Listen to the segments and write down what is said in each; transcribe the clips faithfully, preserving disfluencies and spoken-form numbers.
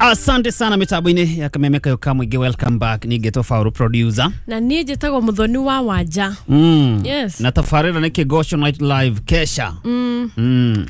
Asante sana mitambo-inĩ ya Kameme Kayo ka Mũingĩ. Welcome back. Ningĩ Fauru producer. Na niĩ njĩtagwo Muthoni wa Wanja. Mm. Yes. Na tabarĩra nĩ Kĩgoco Night Live Kesha. Mm. Mm.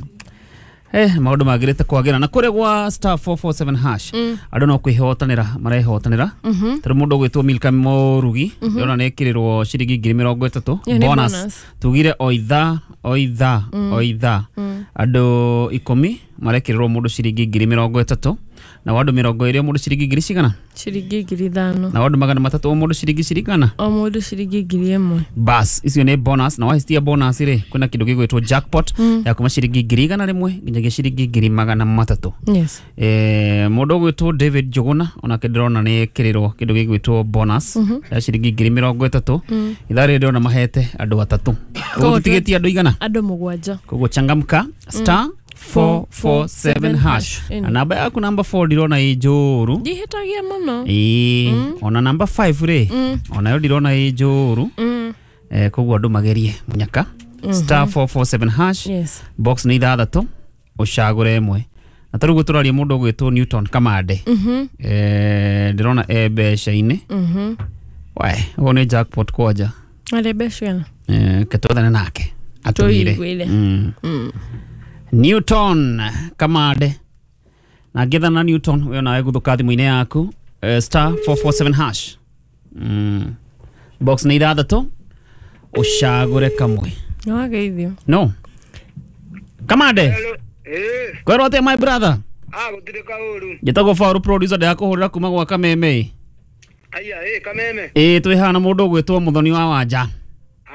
Eh, maũndũ magĩrĩte kwagĩra na kũrĩa gwa star four four seven hash. Mm. Andũ no kwĩhotanĩra marehotanĩra. Mm -hmm. Tondũ mũndũ ũgwĩtwo Milka Mũrugi, mm -hmm. ndĩrona nĩ ĩkĩrĩrwo ciringi ngiri mĩrongo ĩtatũ bonus. Bonus. Tugire o ithaa o ithaa mm. o ithaa. Mm. Andũ ikũmi marekĩrĩrwo mũndũ ciringi ngiri mĩrongo ĩtatũ na wa andũ mĩrongo ĩrĩ o mũndũ ciringi ngiri cigana? Ciringi ngiri ithano. Na wa andũ magana matatũ o mũndũ ciringi cigana? O mũndũ ciringi ngiri ĩmwe. Bas, icio nĩ bonus na wahitia bonus rĩ kwĩna kĩndũ gĩgwĩtwo jackpot mm. ya kuma ciringi ngiri igana rĩmwe nginyagia ciringi ngiri magana matatũ. Yes. Eh, mũndũ ũgwĩtwo David Njuguna onake ndĩrona nĩ ĩkĩrĩrwo kĩndũ gĩgwĩtwo bonus mm -hmm. ya ciringi ngiri mĩrongo ĩtatũ. Mm. Ithaa rĩrĩ ndĩrona mahete andũ atatũ. Koguo tũtigĩtie andũ igana? Andũ mũgwanja. Koguo changamka star mm. four four seven hash. Na namba yaku namba four ndirona ĩ njũru. Ndihĩtagia mũno. Ĩĩ, mm. ona namba five rĩ, mm. onayo ndirona ĩ njũru. Mm. Eh, koguo andũ magerie mũnyaka. Mm -hmm. Star four four seven hash. Yes. Box nĩ ithathatũ, ũcagũre ĩmwe. Na tarĩu tũraria mũndũ ũgwĩtwo Newton Kamande. Mm -hmm. Eh, ndĩrona e mbeca-inĩ. Mm -hmm. Wae, ũguo nĩ jackpot kwanja. Arĩ mbeca. Eh, ketwethane nake. Atũire. Mm. Mm. Newton Kamande na ngethana Newton we nawe guthuka thimũ-inĩ yaku uh, star four four seven hash. Mm. Box nĩ ithathatũ ũcagũre kamwe. No wageithio. No Kamande. Eh, kwĩrwo atĩa my brother? Ah, gũtirĩ kaũru. Njĩtagwo Fauru producer ndĩrakũhũrĩra kuma gwa Kameme. Aya, eh, Kameme. Ĩĩ, twĩ haha na mũndũ ũgwĩtwo Muthoni wa Wanja.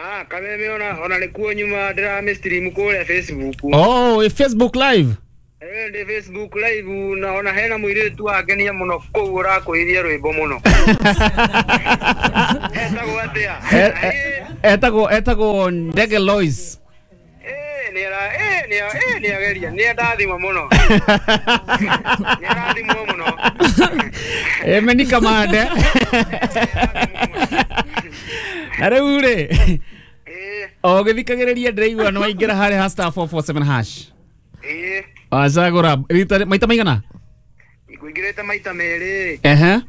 Ah, Kameme ona ona nikuo nyuma ndĩra stream kũrĩa Facebook. Oh, e Facebook live. Eh, ndi Facebook live na ona hena mũirĩtu wangenia mũno kũu ũrakũiria rwĩmbo mũno. Etagwo atĩa? Etagwo etagwo Ndege Lois. Eh, ni ara eh ni eh ni ageria ni ndathima mũno. Ni arathimwo mũno. Eh, meni Kamande. Na rĩu rĩ o gĩthikagĩrĩria ndĩraigua nĩ waingĩra harĩ ha star four four seven hash. Ĩĩ. Wacagũra rita maita maigana? Ngũingĩrĩte maita merĩ. Ehe.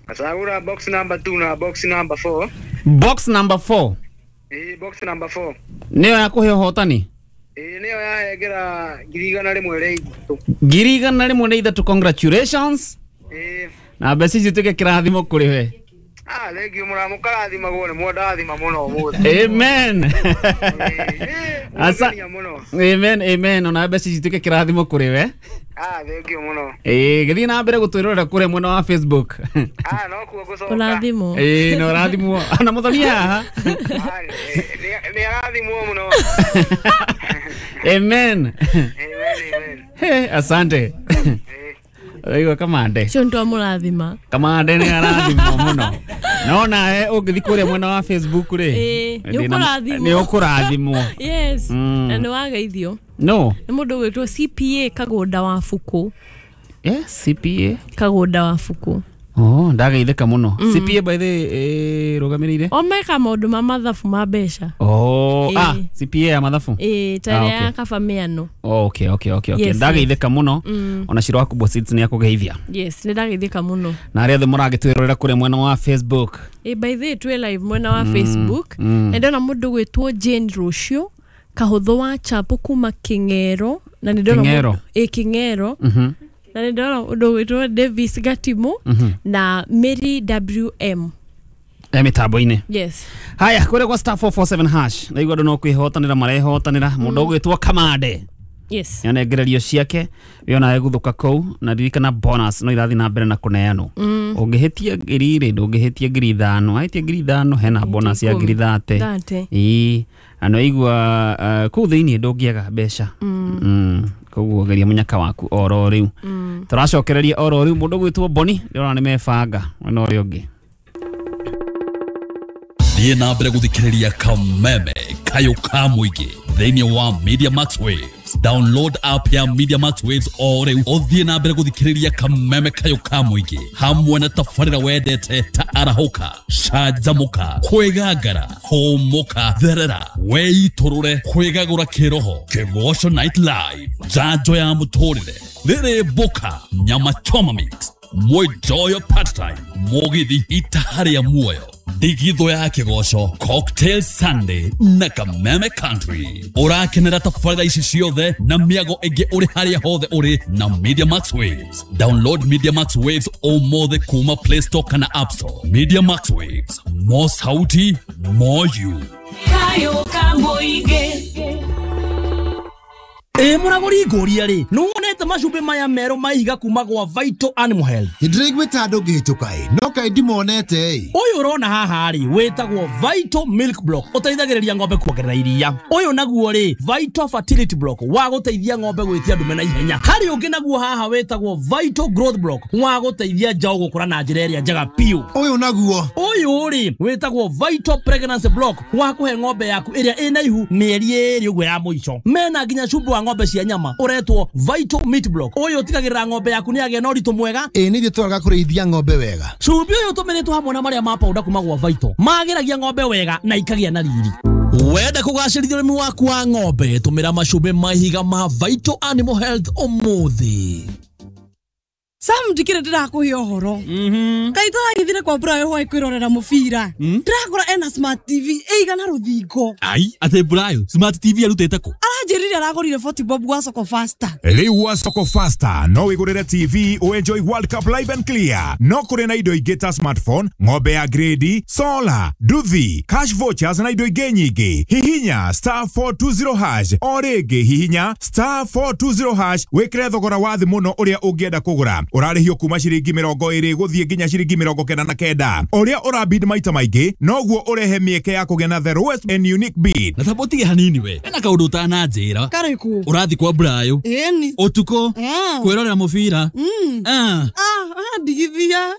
Ngacagũra box number two na box number four. Box number four. Ĩĩ, box number four. Nĩyo yakũhe ũhotani? Ĩĩ, nĩyo yahengera ngiri igana rĩmwe rĩa ithatũ. Ngiri igana rĩmwe rĩa ithatũ, congratulations. Ĩĩ. Na mbeca icio ituĩke kĩrathimo kũrĩ we. Ah, thank you mũra mũkarathimagwo nĩ mwandathima mũno ũmũthĩ. Amen. Asa. Amen, amen. Ona mbeca ici ituĩke kĩrathimo kũrĩ we. Ah, thank you mũno. Ĩĩ, gĩthiĩ na mbere gũtwĩrorera kũrĩa mwena wa Facebook. Ah, no kuo gũcoka. Ũrathimwo. Ĩĩ, no ũrathimwo. Na Muthoni haha. Nĩ arathimwo mũno. Amen. Amen, amen. Hey, asante. Oigo Kamande. Cio nĩtwamũrathima. Kamande nĩ arathimwo mũno. No nawe ũngĩthiĩ kũrĩa mwena wa Facebook rĩ, ĩĩ, nĩ ũkũrathimwo. Nĩ ũkũrathimwo. Yes. Mm. Na nĩ wageithio. No. Nĩ mũndũ ũgwĩtwo C P A Kagũnda wa Bukũ. Yes, C P A Kagũnda wa Bukũ. Oh, ndageithĩka mũno. Mm. C P A by the eh rũgamĩrĩire? O meka maũndũ ma mathabu ma mbeca. Oh, ah, C P A ya mathabu. Ĩĩ, ta ĩrĩa ya kaba mĩano. Oh, okay, okay, okay, okay. Ndageithĩka mũno. Ona Shiro waku Boss nĩ akũgeithia. Yes, nĩ ndageithĩka mũno. Na arĩa othe mũragĩtwĩrorera kũrĩa mwena wa Facebook. Ĩĩ, by the way twĩ live mwena wa Facebook. Na ndona mũndũ ũgwĩtwo Jane Rũciũ Kahũthũ wa Chapo kuma King'ero na nĩ ndona King'ero. Ĩĩ, King'ero. Mhm. Na nĩ ndona ũndũ ũgwĩtwo Davis Gatimo mm -hmm. na Mary W M e mitambo-inĩ. Yes. Haya, kũrĩa gwa star four four seven hash naigua andũ no kwĩhotanĩra marehotanĩra. Mũndũ ũgwĩtwo Kamande. Yes. Nĩanengererio ciake we onawe gũthũka kũu na ririkana bonus no irathiĩ na mbere na kũneanwo. Ũngĩhĩtia ngiri rĩ ndũngĩhĩtia ngiri ithano, wahĩtia ngiri ithano hena bonus ya ngiri thate. Ĩĩ, na nĩwaigua kũu thĩiniĩ ndũngĩaga mbeca. Mm. Koguo geria mũnyaka waku oro rĩu. Tũracokereria oro rĩu mũndũ ũgwĩtwo Boni ndĩrona nĩ mebanga mwena ũrĩa ũngĩ. Thiĩ na mbere gũthikĩrĩria Kameme Kayo ka Mũingĩ thĩinĩ wa Media Max Waves. Waves. Download app ya Media Max Waves o rĩu ũthiĩ na mbere gũthikĩrĩria kameme kayo ka mũingĩ hamwe na tabarĩra wendete ta arahũka, canjamũka, kwĩgangara, hũmũka, therera, weitũrũre, kwĩgagũra kĩroho, Kĩgoco Night Live, njanjo ya mũtũrĩre, rĩrĩ mboka, nyama choma mix, Mwijoyo part time, mũgithi itaharĩa muoyo, ndigithũ ya kĩgoco, Cocktail Sunday na Kameme Country. Ũrakenera tabarĩra ici ciothe na mĩago ĩngĩ ũrĩ harĩa hothe ũrĩ na Media Max Waves. Download Media Max Waves ũmũthĩ kuma Play Store kana App Store. Media Max Waves, more sauti, more you. Kayo Kamoige. Ĩ mũragũri ngũria rĩ, nĩwonete macumbĩ maya merũ maiga kuma gwa Vital Animal Health? Ndĩraiguĩte andũ ngĩhĩtũka ĩ, no kaĩ ndimonete ĩ. Ũyũ ũrona haha rĩ, wĩtagwo Vital Milk Block, ũteithagĩrĩria ng'ombe kuongerera iria. Ũyũ naguo rĩ, Vital Fertility Block, wa gũteithia ng'ombe gwĩtia ndume na ihenya. Harĩ ũngĩ naguo haha wĩtagwo Vital Growth Block, wa gũteithia njaũ gũkũra na njĩra ĩrĩa njega biũ. Ũyũ naguo? Ũyũ rĩ, wĩtagwo Vital Pregnancy Block, wa kũhe ng'ombe yaku ĩrĩa ĩna ihu mĩeri ĩĩrĩ ũguo ya mũico. Mena nginya cumbĩ wa ng'ombe cia nyama ũretwo Vital Meat Block. Ũyũ ũtigagĩrĩra ng'ombe yaku nĩyagĩa na ũritũ mwega. Ĩ nĩ ithuĩ tũraga kũrĩithia ng'ombe wega. Cumbĩ ũyũ ũtũmĩrĩtwo hamwe na marĩa ma powder kuma gwa Vital magĩragia ng'ombe wega na ikagĩa na riri. Wenda kũgacĩrithia ũrĩmi waku wa ng'ombe, tũmĩra macumbĩ ma ihiga ma Vital Animal Health ũmũthĩ. Sam ndikire ndirakuhe ũhoro. Kaĩ tũragĩthire kwa Brayo hwaĩ kwĩrorera mũbira. Ndĩrakora ena smart T V ĩigana rũthingo. Ai, atĩ Brayo smart T V arutĩte kũ? Aranjĩrire aragũrire forty bob gwa Soko Faster. Rĩu gwa Soko Faster no wĩgũrĩre T V ũenjoy World Cup live and clear. No kũrĩ na indo ingĩ ta smartphone, ng'ombe ya grade, solar, nduthi, cash vouchers na indo ingĩ nyingĩ. Hihinya star four two zero hash o rĩngĩ hihinya star four two zero hash wĩkĩre thogora wa thĩ mũno ũrĩa ũngĩenda kũgũra. Ũrarĩhio kuma ciringi mĩrongo ĩrĩ gũthiĩ nginya ciringi mĩrongo kenda na kenda. Ũrĩa ũrabid maita maingĩ noguo ũrehe mĩeke ya kũgĩa na the lowest and unique bid. Na thambo hanini we, ena kaũndũ ũtananjĩra. Karĩkũ? Ũrathiĩ kwa Brayo Ĩni. ũtukũ kwĩrorera mũbira. Ah. Ah, ndigithia.